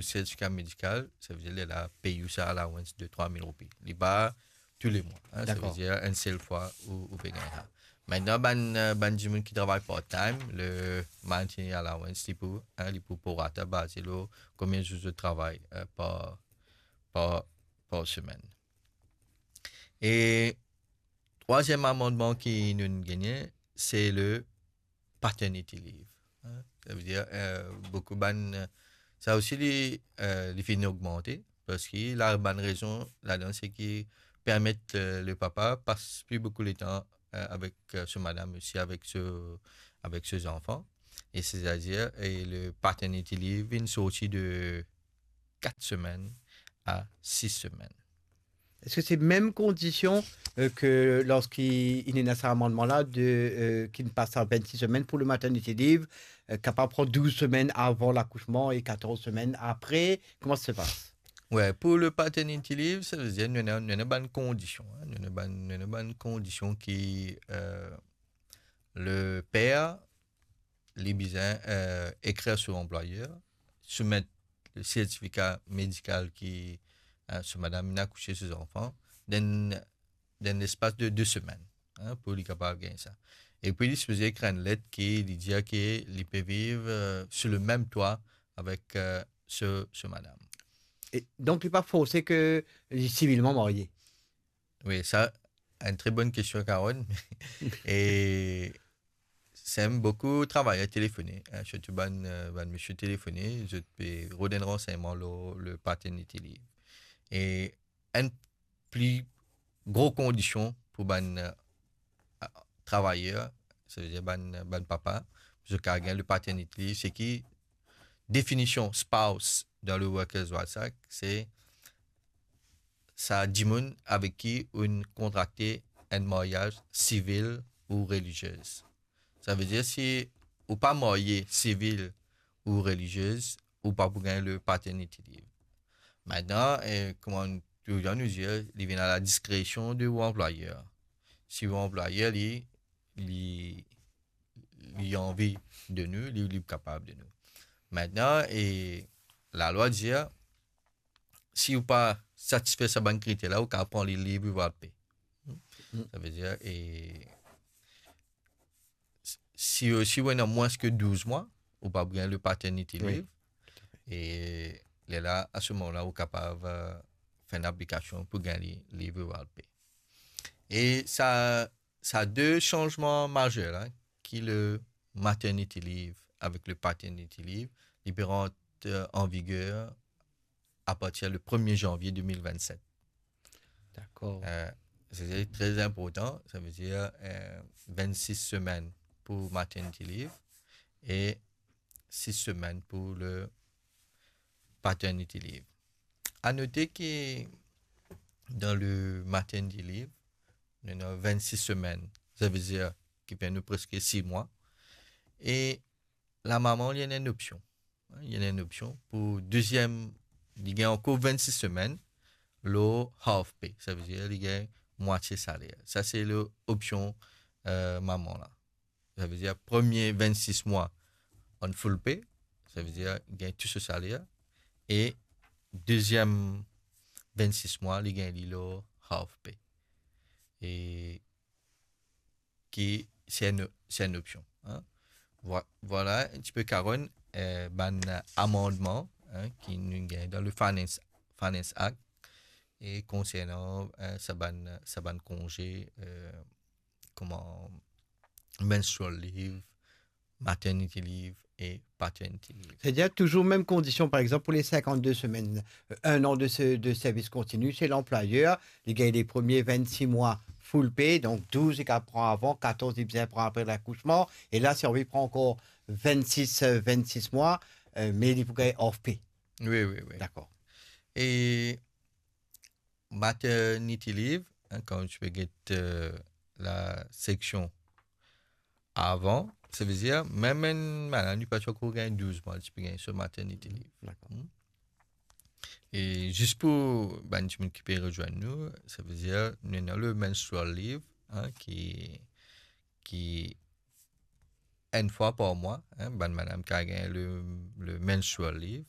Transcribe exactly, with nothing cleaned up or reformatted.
sertifika medikal, savedir lerla pey ou sa allowance de trwa mil roupi. Li pa tou le mwa, hein, Dakor. Savedir enn sel fwa ou, ou pe gagn sa. Mintnan, bann, euh, bann dimoun ki travay part-time, le maternity allowance, li pou, hein, li pou prorata baze lor konbien zour zot travay, euh, par, par, par semenn. E trwaziem amandman ki nou gagne, se le paternity leave. Hein? Savedir, euh, boukou bann, euh, sa osi li, euh, li finn ogmante, parski la, bann rezon ladan, se ki permet, euh, le papa pas pli boukou letan, euh, avek, euh, so madam, osi avek so, avek so zanfan. E setadir, e le paternity leave vinn sorti de kat semenn a sis semenn. Eski se mem kondision, euh, ke lorski inn ena sa amandman la de, euh, ki pas a vennsis semenn pou le maternity leave, euh, kapav pran douz semenn avan lakousman e katorz semenn apre? Kouma sa se pas? Wi, pou le paternity leave, savedir nou ena, nou ena bann kondision, hein, nou ena bann, nou ena bann kondision ki, euh, le per, li bizin, euh, ekrir so anplwayer, soumet le sertifika medikal ki, euh, so madam inn akouse so zanfan, dan, dan lespas de de semenn, hein, pou li kapav gagn sa. E pi li sipoze ekrir enn let ki li dir ki li pe viv, euh, sou le mem twa avek, euh, so, so madam. E donk, li pa forse ke li sivilman marye? Wi, sa, enn tre bonn kestion, Karen. E sem boukou travayer telefone, hein, sirtou bann, euh, bann misie telefone, zot pe rod enn ransegnman lor le paternity leave. E enn pli gro kondision pou bann, euh, travayer, savedir bann, bann papa, pou zot kapav gagn le paternity leave, se ki definision spouse dan le Workers' Rights Act, se sa dimoun avek ki ou inn kontrakte enn maryaz sivil ou relizie. Savedir si ou pa marye sivil ou relizie, ou pa pou gagn le paternity leave. Mintnan, eh, kouma nou, touzour nou dir, li vinn a la diskresion de ou anplwayer. Si ou anplwayer, li, li, li anvi de nou, li, li kapav de nou. Mintnan, e lalwa dir, si ou pa satisfer sa bann kriter la, ou kapav pran li leave without pay. Savedir, e si, si ou ena mwins ke douz mwa, ou pa pou gagn le paternity Wi. Leave. E lerla, a se moman la, ou kapav, euh, fer enn aplikasion pou gagn li leave without pay. E sa, sa de sanzman mazer la, ki le maternity leave avek le paternity leave, li pe rant, euh, an viger apartir le premie zanvie de mil vennset. Dakor. Euh, se tre inportan, savedir, euh, vennsis semenn pou maternity leave e sis semenn pou le paternity leave. A note ki dan le maternity leave, nou ena vennsis semenn, savedir ki pe nou preske sis mwa. E lamama, li ena enn opsion. Li ena enn opsion pou deziem, li gagn ankor vennsis semenn lor half pay, savedir li gagn mwatie saler. Sa se le opsion, euh, mama la. Savedir premie vennsis mwa an full pay, savedir gagn tou so saler, e deziem vennsis mwa, li gagn li lor half pay. E ki se enn, se enn opsion, hein. Vwa-, vwala enn tipe, Karen, euh, bann amandman, hein, ki nou gagn dan le Finance, Finance Act, e konsernan, euh, sa bann, sa bann konze, euh, kouma menstrual leave, maternity leave e paternity leave. Setadir touzour mem kondision, par exanp, pou le sinkant-de semenn, euh, enn an de se, de servis kontini, se lanplwayer, li gagn le premie vennsis mwa full pay, donk douz li kapav pran avan, katorz li bizin pran apre lakousman, e la, si anvi pran ankor vennsis, euh, vennsis mwa, euh, me li pou gagn half pay. Wi, wi, wi. Dakor. E maternity leave, hein, kan ti pe get, euh, la seksion avan, savedir mem enn madam, li pa ti ankor gagn douz mwa, li ti pe gagn so maternity leave. Dakor. E zis pou bann dimoun ki pe rezwenn nou, savedir nou ena le menstrual leave, hein, ki, ki enn fwa par mwa, hein, bann madam kapav gagn le, le menstrual leave,